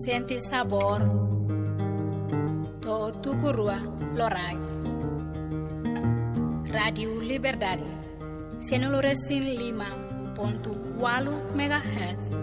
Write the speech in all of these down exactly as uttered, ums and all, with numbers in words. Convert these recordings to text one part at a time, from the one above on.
Sente sabór to'o tuku rua loraik. Rádiu Liberdade, sanulu-resin-lima pontu ualu megahertz.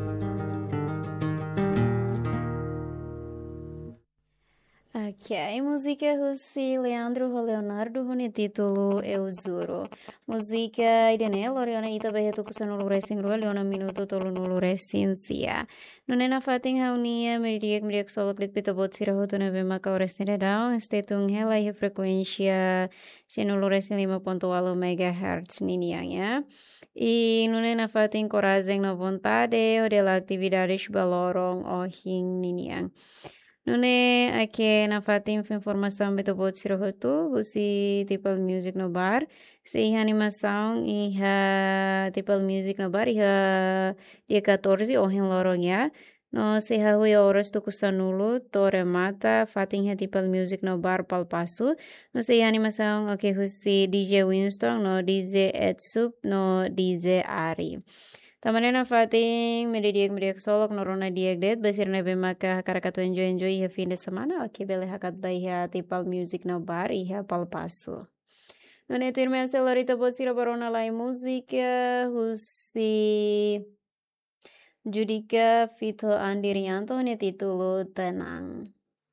Ok, múzika husi Leandro ho Leonardo ho nia títulu Eu Juro. Múzika ida-ne'e lori ona ita ba iha tuku sanulu-resin-rua liu ona minutu tolunulu-resin-sia. Nune'e nafatin ha'u-nia media, media solok de'it ba ita-boot sira hotu ne'ebé maka oras ne'e daudaun stay tune hela iha frekuénsia sanulu-resin-lima pontu ualu megahertz ninian, ya. I nune'e nafatin korajen no vontade hodi halo atividades ba loron ohin ninian. Nune'e ita nafatin fó informasaun ba ita-boot sira hotu husi Tipal Music no Bar. Sei iha animasaun iha Tipal Music no Bar iha dia catorze ohin loron, ya. No sei hahú iha oras tuku sanulu to'o remata fatin iha Tipal Music no Bar Palpasu. No sei iha animasaun, ok, husi D J Winston no D J Edsup no D J Ari. Tanba ne'e nafatin media, media solok no rona di'ak de'it ba sira ne'ebé maka hakarak atu enjoy, enjoy iha fim de semana, ok, bele hakat ba iha Tipal Music no Bar iha Palpasu. Nune'e tuirmai ha'u sei lori ita-boot sira ba rona lai múzika husi Judika feat Andirianto nia títulu Tenang.